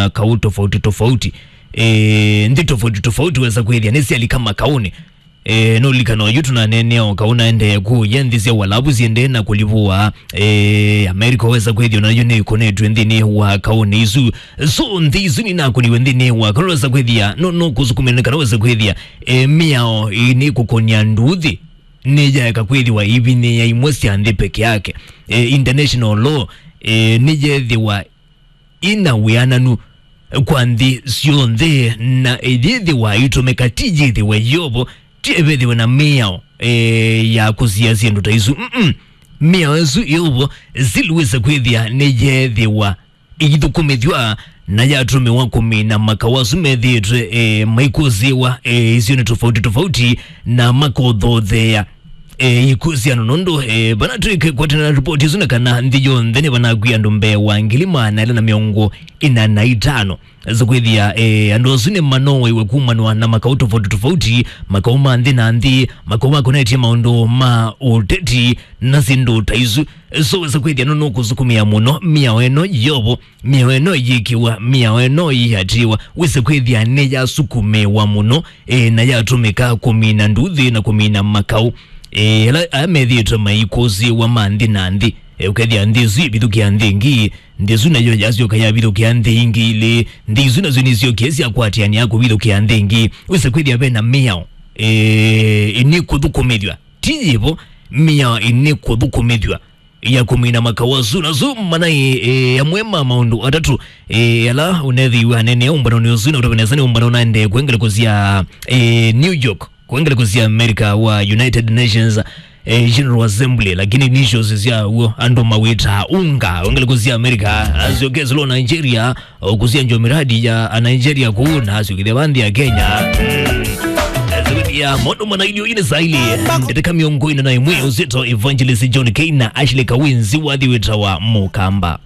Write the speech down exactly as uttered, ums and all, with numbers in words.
makaũ tofauti tofauti, e, nthĩ tofauti tofauti wesa kwĩthĩa nĩsyalika makaũnĩ. E, nũlikana oyu tũnaneenea o kaũ naendee kũya nthĩ sya Ualavu syendee na kũlivũa. E, Amerika wesa kwĩthĩa nayo nĩkonetw'e nthĩnĩ wa kaũnĩ isu. So nthĩ isu ninakũniwe nthĩnĩ wa kaũ wesa kwĩthĩa no, no kũsukumĩla kana wesa kwĩthĩa, e, mĩao ĩnĩ kũkonya nduthi nĩyaeka kwĩthĩwa ivinyĩĩa imwe sya nthĩ peke yake. E, international law, e, nĩyethĩwa ina wĩananu kwa nthĩ syonthe, na ĩyĩthĩwa itũmĩka ti yĩthĩwe yovo, ti ĩvĩthĩwe na mĩao, e, ya kũsia syĩndũ ta isu. Mm-mm. Mĩao ĩsu yovo siliwĩsa kwĩthĩa nĩyethĩwa ĩithũkũmĩthw'a na yatũmĩwa kũmina makaũ asu methĩĩtwe, e, maikũsĩĩwa, e, isionĩ tofauti tofauti na makothothea, e, ikusiano nũndũ, e, vana twĩke kwatana na ripoti isu na kana nthĩ yonthe nĩ vanakwia andũ mbee wa ngili maana ĩla na mĩongo ĩna na itano. Sũkwĩthĩa, e, andũ asu nĩ manowaiwe kumanwa na makaũ tofauti tofauti, makaũ ma nthĩ na nthĩ, makaũ makonetye maũndũ ma ũteti na syĩndũ ta isu. So wesa kwĩthĩa no nũkũsukumĩa mũno mĩao ĩno yovo, mĩao ĩno yĩkĩwa, mĩao ĩno yĩatĩĩwa, wĩse kwĩthĩa nĩyasukumĩwa mũno, e, na yatũmĩka kũmina nduthi na kũmina makaũ, e, ala aa methĩĩtwe maikũsĩĩwa ma nthĩ na nthĩ. E, ũkethĩa nthĩ ĩsu ĩvithũkĩa nthĩ ĩngĩ, nthĩ ĩsu nayo yasyoka yavithũkĩa nthĩ ingĩ ilĩ, nthĩ isu nasyo nĩsyokie syakwatĩanĩa kũvithũkĩa nthĩ ĩngĩ. Wĩse kwĩthĩa ve na mĩao, e, ĩnĩ kũthũkũmĩthw'a, ti yĩvo, mĩao ĩnĩ kũthũkũmĩthw'a ya kũmina makaũ asu. Nasu manai, e, amwe ma maũndũ atatũ, e, ala ũnethĩiwe anene ũmbanonĩ ũsu, na ũtave nesa nĩ ũmbano ũnaendee kwa ngelekũ sya, e, New York, kwa ngelekũ sya America wa United Nations, e, General Assembly, lakini initials syaw'o andũ mawĩtaa UNGA. Kwa ngelekũ sya America, asyoke silo Nigeria, ũkũsya njo miradi ya a Nigeria kũu na asyũkĩthya va nthĩ ya Kenya. Mm. Asyũkĩthya maũndũ mana ilio ine saa ilĩ. Ndeto mĩongo ĩna na ĩmwe ũsito Evangelist John K na Ashley Kawinzi wathi wĩtawa Mũkamba.